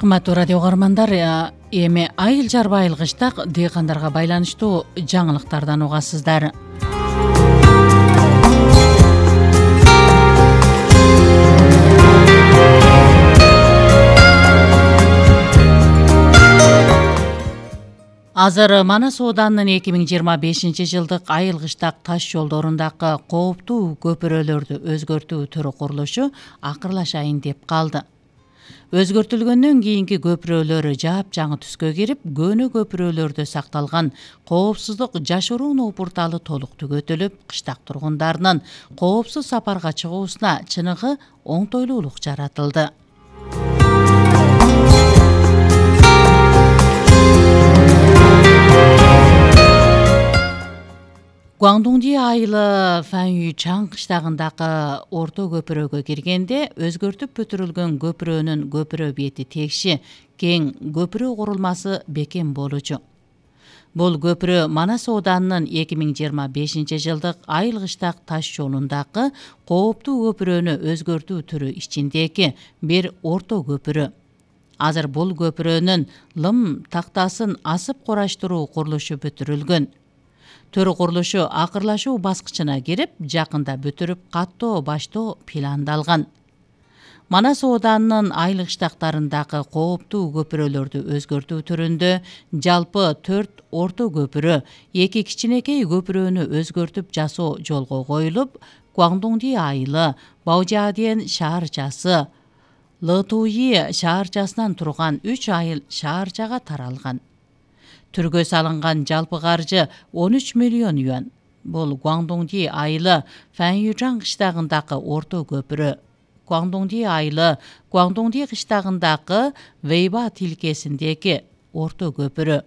Кымбаттуу радио угармандар, эми айыл жарба айыл кыштак дыйкандарга байланыштуу жаңылыктардан угасыздар. Азыр Манас Ооданынын 2025 жылдык айыл кыштак таш жолдорундагы кооптуу көпүрөлөрдү өзгөртүү түрү курулушу акырлашайын деп калды. Өзгөртүлгөндөн кийинки көпүрөлөр жаап-жаңы түскө кирип, көөнө көпүрөлөрдө сакталган коопсуздук жашыруун опурталы толук түгөтүлүп, кыштак тургундарынын коопсуз сапарга чыгуусуна чыныгы оңтойлуулук жаратылды. Гуандуңди айылы Фанью Чаң кыштагындагы орто көпүрөгө киргенде өзгөртүп бүтүрүлгөн көпүрөнүн көпүрө бети текши, кең көпүрө курулмасы бекем болчу. Бул көпүрө Манас Ооданынын 2025 жылдык айыл кыштак таш жолундагы кооптуу көпүрөнү өзгөртүү түрү ичиндеги бир орто көпүрө. Азыр бул көпүрөнүн лым тактасын асып кураштыруу курулушу бүтүрүлгөн. Төрү курулушу акырлашуу баскычына кирип, жакында бүтүрүп каттоо баштоо пландалган. Манас Ооданынын айыл кыштактарындагы кооптуу көпүрөлөрдү өзгөртүү түрүндө жалпы 4 орто көпүрө, 2 кичинекей көпүрөнү өзгөртүп жасоо жолго коюлуп, Гуандуңди айылы, Баожаден шаарчасы, Лытуи шаарчасынан турган 3 айыл шаарчага таралган. Түргө салынган жалпы каржы 13 миллион юан. Бул Гуандуңди айылы Фанью Чаң кыштагындагы орто көпүрө. Гуандуңди айылы Гуандуңди кыштагындагы Вейба тилкесиндеги орто көпүрө.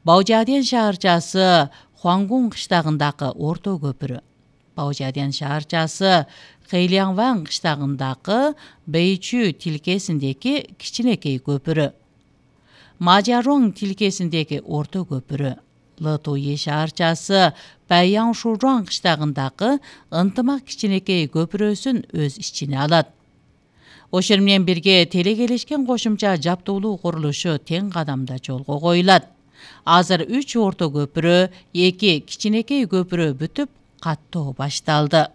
Баожаден шаарчасы Хуангун кыштагындагы орто көпүрө. Баожаден шаарчасы Хэйлиаңван кыштагындагы Бэйчү тилкесиндеги кичинекей көпүрө. Мажароң тилкесиндеги орто көпүрө. Лытуи шаарчасы Баяңшужуан кыштагындагы ынтымак кичинекей көпүрөсүн өз ичине алат. Ошол менен бирге телекелешкен кошумча жаптуулуу курулушу тең кадамда жолго коюлат. Азыр 3 орто көпүрө, 2 кичинекей көпүрө бүтүп, каттоо башталды.